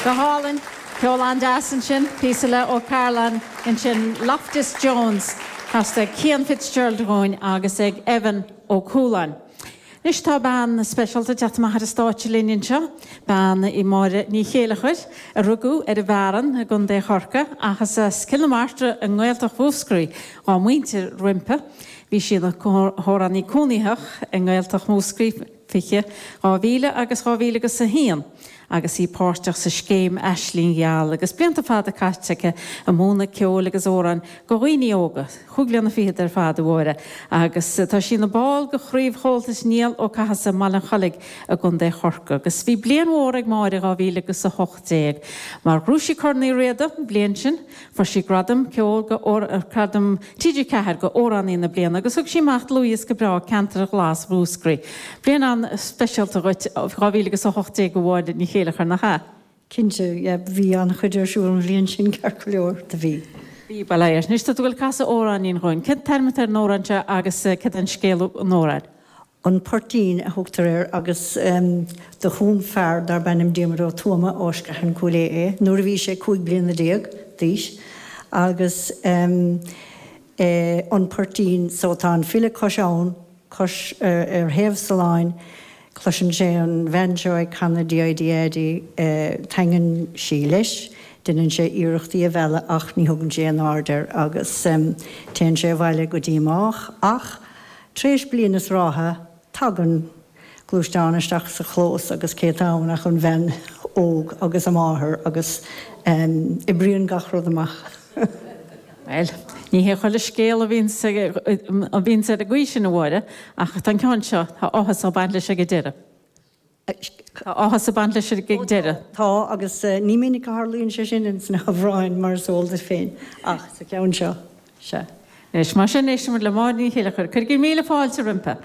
Go hálainn. Ceol an-deas ansin. Píosa le Ó Cairealláin ansin. Loftus Jones casta ag Cian Fitzgerald dhúinn agus ag Evan Ó Cualáin. Anois tá bean speisialta ag teacht amach ar an stáitse linn anseo. Bean í Máire Ní Chéilleachair, a rugadh ar an bhFearann i gContae Chorcaí ach is as Cill na Martra i nGaeltacht Mhúscraí dá muintir roimpi. Bhí sí ina hamhránaí cónaitheach i nGaeltacht Mhúscraí 20, 2000 agus 2000 agus 1 agus í páirteach sa scéim Aisling Gheal agus blianta fada caite aici ag múineadh ceoil agus amhráin go dhaoine óga, chúig bliana fichead ar fad, a Mháire, agus tá sí ina ball de Chraobh Chomhaltas Niall Ó Cathasaigh i mBaile an Chollaigh i gContae Chorcaí. Agus bhí bliain mhór ag Máire 2000 agus 18 mar ghnóthaigh sí Corn Uí Riada an bhliain sin, Fuair sí gradam ceoil go gradam TG4 go Amhránaí na Bliana agus thug sí amach dlúthdhiosca breá Ceantar Ghlas Mhúscraí. Bliain an-speisialta dhuit 2000 agus 18 a Mháire Ní Chéilleachair, nach ea? Cinnte, yeah, bhí an-chuid ar siúl an bhliain sin ceart go leor, do bhí. Bhí, bail ó Dhia ort. Anois tá tú ag goil ag casadh amhráinín dhúinn. Cén t-ainm atá ar an amhrán seo agus céard é an scéal an amhráin? An Poirtín a thugtar air agus do chum fear darb ainm Diarmuid Ó Tuama ó Sceathan Cúil Aodha é nuair a bhí sé 15 bliana d'aois agus An Poirtín so tá an file cois abhann, cois ar thaobh saláin, cloiseann sé an bhean seo ag canadh DIDAD, taitníonn sí leis, deineann sé iarracht í a mhealladh ach ní thugann sí aon aird air agus téann sé abhaile go díomách ach Tar éis bliain is ráithe, tagann gluaisteán isteach sa chlós agus cé atá ann ach an bhean óg agus a máthair agus oibríonn gach rud amach. Bhuel, ní hé chuile scéal a bhíonns a bhíonns ar an gcaoi sin, a Mháire, ach tá an ceann seo, tá áthas ag baint leis ag an deireadh. Tá áthas ag baint leis ag an deireadh. Tá, agus ní minic a tharlaíonn sé sin ins na hamhráin, mar is eol duit féin, ach sa cheann seo, sea. Anois, mar sin, éistfimid le Máire Ní Chéilleachair. Cuirigí míle fáilte roimpi.